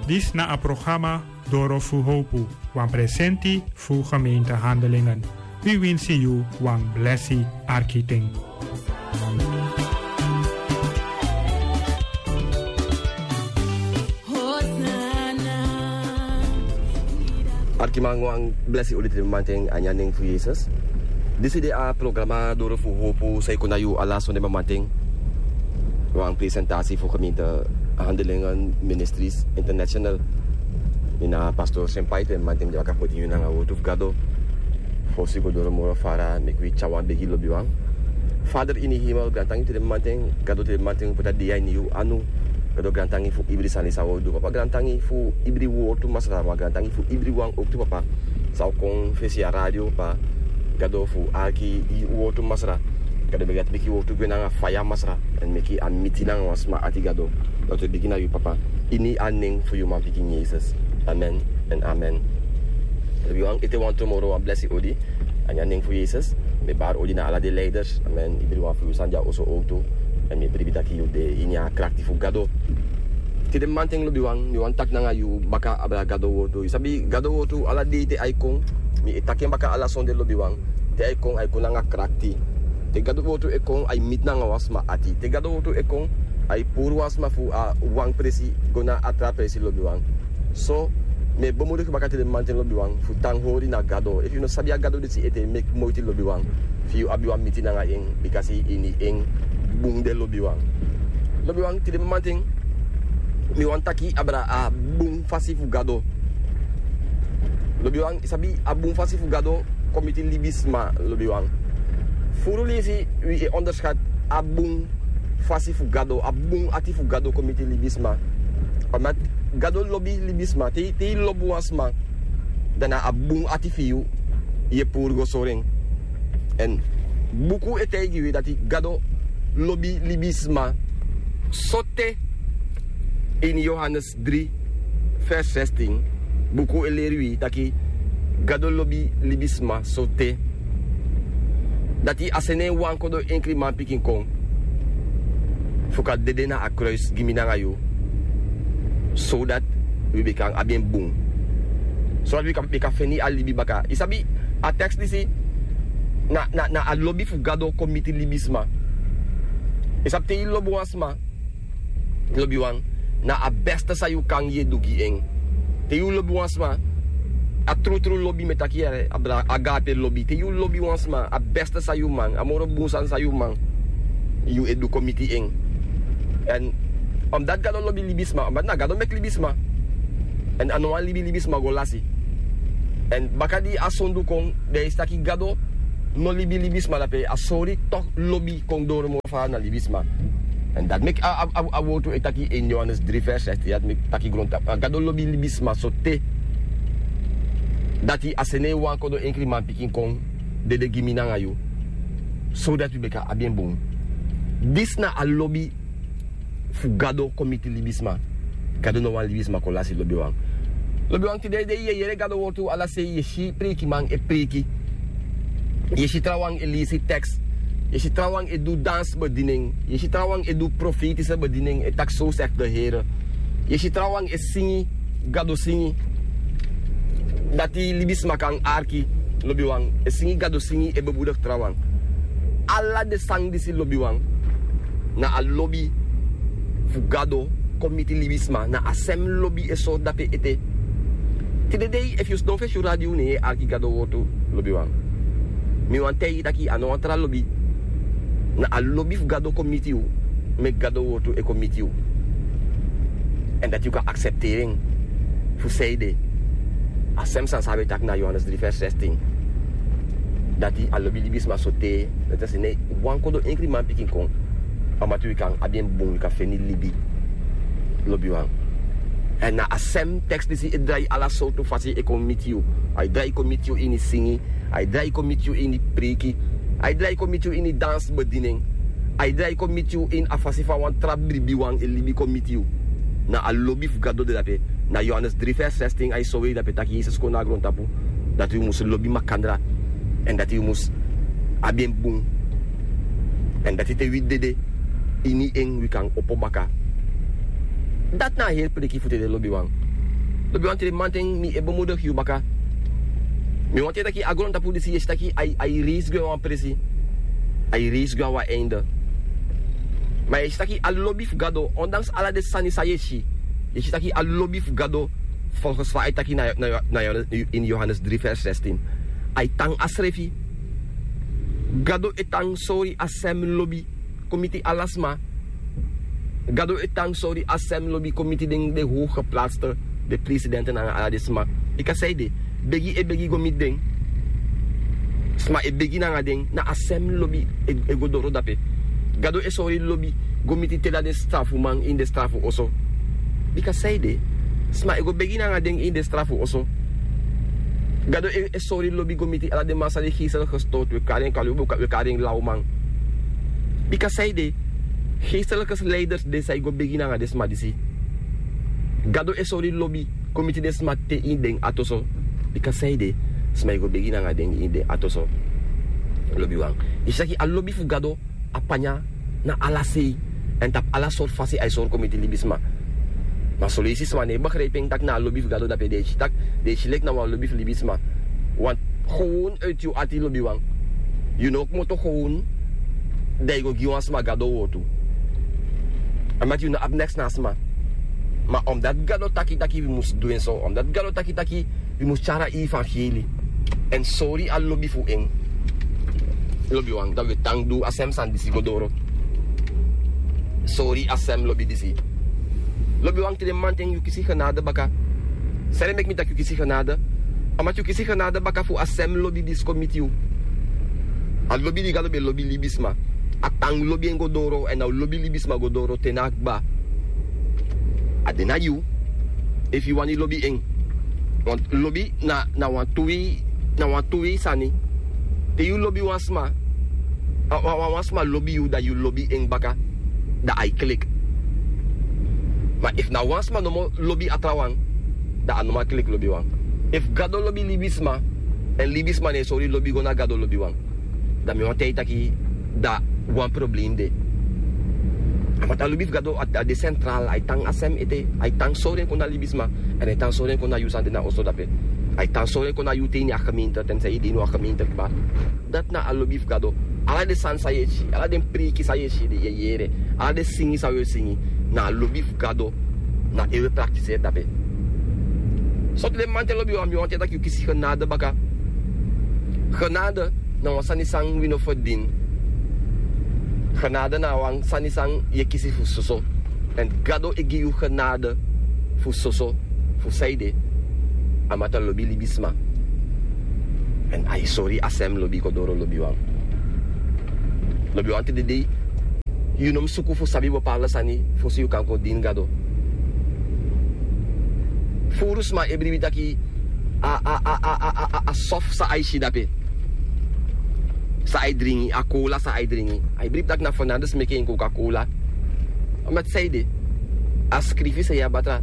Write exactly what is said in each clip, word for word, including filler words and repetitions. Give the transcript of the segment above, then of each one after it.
Disi na a programa Doro fu Howpu, wan presenti fu gemeente Handelingen. Wi winsi yu wan blesi arki ten. Arkiman, wan blesi odi tide mamanten a ini a nen fu Yesus. Disi de a programa Doro fu Howpu, san e kon na yu ala sonde mamanten. Wan presentasi fu gemeente Handelingen Ministries International. Mi na pastor Senpai, tide mamanten mi de baka poti yu nanga wortu fu Gado. Fosi go doro moro fara, meki wi tyari wan begi, lobiwan. Vader ini hemel, grantangi tide mamanten, Gado, tide mamanten wi poti a dei ini yu anu. Gado, grantangi fu ibri sani san wi o du, papa, grantangi fu ibri wortu, Masra, ma grantangi fu ibri wan owktu, papa, san o kon fesi a radio, papa, Gado, fu arki yu wortu, Masra. Gado, begi dati meki yu wortu gwe nanga faya, Masra, èn meki a miti nanga wan sma ati, Gado. Dati wi begi na yu, papa, ini a nen fu yu manpikin Yesus. Amen èn amen. Lobiwan, ete wantru moro wan blesi odi a ini a nen fu Yesus. Mi e bari odi na ala den leiders, amen, ibri wan fu yu san de a oso owktu. Èn mi e bribi taki yu de ini a krakti fu Gado. Tide mamanten, lobiwan, mi wani taki nanga yu baka abra Gado wortu. Yu sabi, Gado wortu, ala dei te a e kon, mi e taki en baka ala sonde, lobiwan. Te a e kon, a e kon nanga krakti. Te Gado wortu e kon, a e miti nanga wan sma ati. Te Gado wortu e kon, a e puru wan sma fu a wan presi go na a tra presi, lobiwan. So, mi e bemoedig baka tide mamanten, lobiwan, fu tan hori na Gado. Efu yu no sabi a Gado disi ete, meki moiti, lobiwan, fu yu abi wan miti nanga en, bikasi ini en bun de, lobiwan. Lobiwan, tide mamanten mi wani taki abra a bun fasi fu Gado. Lobiwan, yu sabi, a bun fasi fu Gado kon miti libisma, lobiwan. Furu leisi wi e onderschat a bun fasi fu Gado, a bun ati fu Gado kon miti libisma. Omdat Gado lobi libisma. Te, te yu lobi wan sma, dan na a bun ati fu yu yu e puru go sori en. Èn buku e taigi wi dati Gado lobi libisma sote, ini Yohanes dri, vers zestien, buku e leri wi taki Gado lobi libisma sote dati a seni en wan kodo enkri manpikin kon fu kan dede na a kruis gi mi nanga yu, sodati wi be kan abi en bun, sodati wi kan, wi kan feni a libi baka. Yu sabi, a tekst disi na, na, na a lobi fu Gado kon miti libisma. Yu sabi, te yu lobi wan sma, lobiwan, na a beste san yu kan, yu e du gi en. Te yu lobi wan sma, a trutru lobi, mi e taki, yere, abra agape lobi. Te yu lobi wan sma, a beste san yu man, a moro bun sani san yu man, yu e du kon miti en. Èn omdat Gado lobi libisma, omdat na Gado meki libisma, èn a no wani libi libisma go lasi. Èn baka di a sondu kon, dan yu si taki Gado no libi libisma, dape a sori tok lobi kon doro moro fara na libisma. Èn dati meki a, a, a, a wortu e taki ini Yohanes dri vers zestien, dati meki taki grontapu, a Gado lobi libisma sote dati a seni en wan kodo enkri manpikin kon dede gi mi nanga yu, sodati wi be kan abi en bun. Disi na a lobi fu Gado kon miti libisma. Gado no wani libisma kon lasi, lobiwan. Lobiwan, tide dei yu e yere Gado wortu ala sei, yu e si preikiman e preiki, yu e si trawan e leisi tekst, yu e si trawan e du dansi bediening, yu e si trawan e du profetische bediening, e taki: "Zo zegt de Heer." Yu e si trawan e singi Gado singi dati libisma kan arki, lobiwan, e singi Gado singi, e bemoedig trawan. Ala den sani disi, lobiwan, na a lobi fu Gado kon miti libisma, na a sem lobi e sori dape ete. Tide dei, efu yu sidon fesi yu radio, ne yu e arki Gado wortu, lobiwan, mi wani taigi yu taki a no wan tra lobi. Na a lobi fu Gado kon miti yu, meki Gado wortu e kon miti yu. Èn dati yu kan aksepteri en fu san ede. A sem sani san a be taki na Yohanes dri vers zestien. Dati a lobi libisma sote dati a seni wan kodo enkri manpikin kon, omdat wi kan abi en bun, wi kan feni libi, lobiwan. Èn na a sem tekst disi e drai ala sortu fasi e kon miti yu. A e drai kon miti yu ini singi, a e drai kon miti yu ini preiki, a e drai kon miti yu ini dansi bediening, a e drai kon miti yu ini a fasi fa wan tra bribiwan e libi kon miti yu. Na a lobi fu Gado de dape. Na Yohanes dri vers zestien a e sori yu dape taki Yesus kon na a grontapu dati wi mus lobi makandra, èn dati wi mus abi en bun, èn dati te wi dede ini en wi kan opo baka. Dati na a heri preiki fu tide, lobiwan. Lobiwan, tide mamanten mi e bemudigi yu baka. Mi wani taki a grontapu disi, yu e si taki a e reisi gwe na wan presi. A e reisi gwe na wan einde. Ma yu e si taki a lobi fu Gado, ondanks ala den sani san yu e si, yu e si taki a lobi fu Gado, volgens fa a e taki na, na, na, in Johannes drie vers zestien, a e tan a srefi. Gado e tan sori a sem lobi kon miti ala sma. Gado e tan sori a sem lobi kon miti den, den hoge geplaatste, den presidenten nanga ala den sma. Bika san ede? Begi e begi go miti den. Sma e begi nanga den, na a sem lobi e, e go doro dape. Gado e sori lobi go miti te na den strafuman ini den strafu oso. Bika san ede? Sma e go begi nanga den ini den strafu oso. Gado e, e sori lobi go miti ala den man san de geestelijk gestoord, wi e kari en kalubu, wi e kari en lawman. Bika san ede? Geestelijke leiders de san e go begi nanga den sma disi. Gado e sori lobi kon miti den sma te ini den ati oso. Bika san ede? Sma e go begi nanga den ini den ati oso. Lobiwan, yu e si taki a lobi fu Gado a panya na ala sei. Èn tapu ala sortu fasi a e sori kon miti libisma. Ma son leisi sma no e begrijpi en taki na a lobi fu Gado dape. Den e si taki, den e si leki na wan lobi fu libisma. Want gewoon uit yu ati, lobiwan. Yu no o kmoto gewoon, dan yu go gi wan sma Gado wortu. Omdat yu no abi neks na a sma. Ma omdat Gado taki taki wi mus du en so, omdat Gado taki taki wi mus tyari a evangelie èn sori a lobi fu en, lobiwan, dan wi e tan du a sem sani disi go doro. Sori a sem lobi disi. Lobiwan, tide mamanten yu kisi genade baka. San ede meki mi taki yu kisi genade? Omdat yu kisi genade baka fu a sem lobi disi kon miti yu. A lobi di Gado ben lobi libisma, a tan lobi en go doro, èn a o lobi libisma go doro te na kba. A de na yu efu yu wani lobi en. Want lobi na, na wan tu wei, na wan tu wei sani. Te yu lobi wan sma, a, wan, wan, wan sma lobi yu, dan yu lobi en baka, dan a e klik. Ma efu na wan sma nomo lobi a trawan, dan a no man klik, lobiwan. Efu Gado lobi libisma, èn libisma no e sori lobi go na Gado, lobiwan, dan mi wani taigi taki dan wan problem de. Omdat a lobi fu Gado a, a de centraal, a e tan a sem ete, a e tan sori en kon na libisma, èn a e tan sori en kon na yu san de na oso dape. A e tan sori en kon na yu te ini a gemeente, te san yu de ini wan gemeente kba. Dati na a lobi fu Gado. Ala den sani san yu e si, ala den preiki san yu e si, den yu e yere, ala den singi san wi e singi, na a lobi fu Gado, na en wi e praktiseri dape. So tide mamanten, lobiwan, mi wani taigi taki yu kisi genade baka. Genade na wan sani san wi no ferdini. Genade na wan sani san yu e kisi fu soso. Èn Gado e gi yu genade fu soso. Fu san ede? Omdat a lobi libisma. Èn a e sori a sem lobi go doro, lobiwan. Lobiwan, tide dei yu no mus suku fu sabi bepaalde sani fosi yu kan kon dini Gado. Furu sma e bribi taki a, a, a soft san a e si dape, san a e dringi, a kola san a e dringi. A e bribi taki na fernandes meki en, Coca-Cola. Omdat san ede? A skrifi san yu abi tra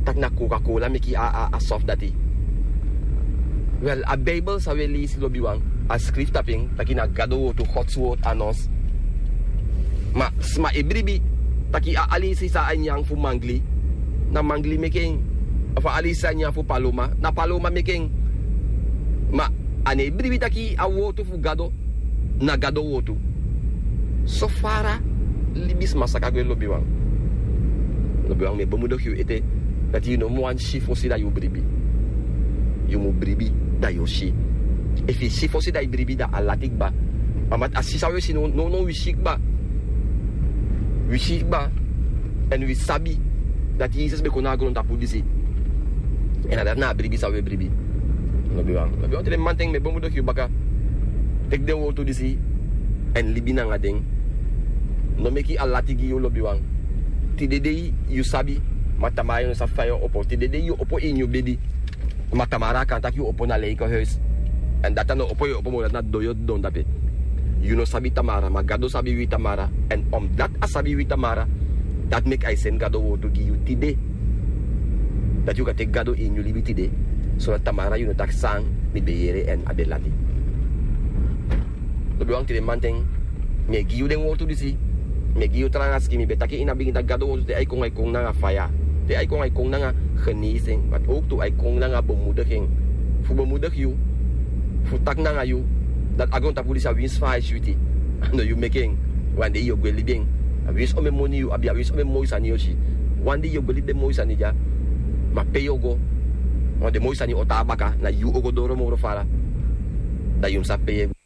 taki na Coca-Cola meki a, a, a soft dati. Wel, a Bijbel san wi e leisi, lobiwan, a skrifi tapu en taki na Gado wortu, Gods word, a nos. Ma sma e bribi taki a, a leisi san a nyan fu mangli, na mangli meki en. Of a leisi san a nyan fu paloma, na paloma meki en. Ma a no e bribi taki a wortu fu Gado na Gado wortu. So fara libisma saka gwe, lobiwan. Lobiwan, mi e bemudigi yu ete dati yu no mu wani si fosi dan yu bribi. Yu mu bribi dan yu o si. Efu yu si fosi dan yu bribi, dan a lati kba. Omdat a si san wi e si now, now wi si kba. Wi si kba. Èn wi sabi dati Yesus ben kon na a grontapu disi. Èn na dati na a bribi san wi e bribi. Lobiwan, lobiwan, tide mamanten mi e bemudigi yu baka. Teki den wortu disi èn libi nanga den. No meki a lati gi yu, lobiwan. Tide dei yu sabi, ma tamara yu no sabi fa yu o opo. Tide dei yu opo ini yu bedi, ma tamara a kan taki yu opo na leikehuis. Èn dati a no opo yu opo moro, dati na didon yu o didon dape. Yu no sabi tamara, ma Gado sabi wi tamara. Èn omdat a sabi wi tamara, dati meki a e seni Gado wortu gi yu tide. Dati yu kan teki Gado ini yu libi tide. So dati tamara yu no taki san, mi ben yere èn a ben lati. Lobiwan, tide mamanten mi e gi yu den wortu disi. Mi e gi yu tranga skin. Mi ben taki ini a bigin taki Gado wortu, te a e kon, a e kon nanga faya. Te a e kon a e kon nanga genesi en, ma owktu a e kon nanga bemudugi en, fu bemudigi yu, fu taki nanga yu dati a grontapu disi a winsi fa a e switi. A no yu meke en. Wan dei yu o gwe libi en. A winsi omeni moni yu abi, a winsi omeni moi sani yu o si. Wan dei yu o gwe libi den moi sani dya. Ma pe yu o go? Wan den moi sani o tan na baka, na yu o go doro moro fara. Da yu mus sabi pe yu e go.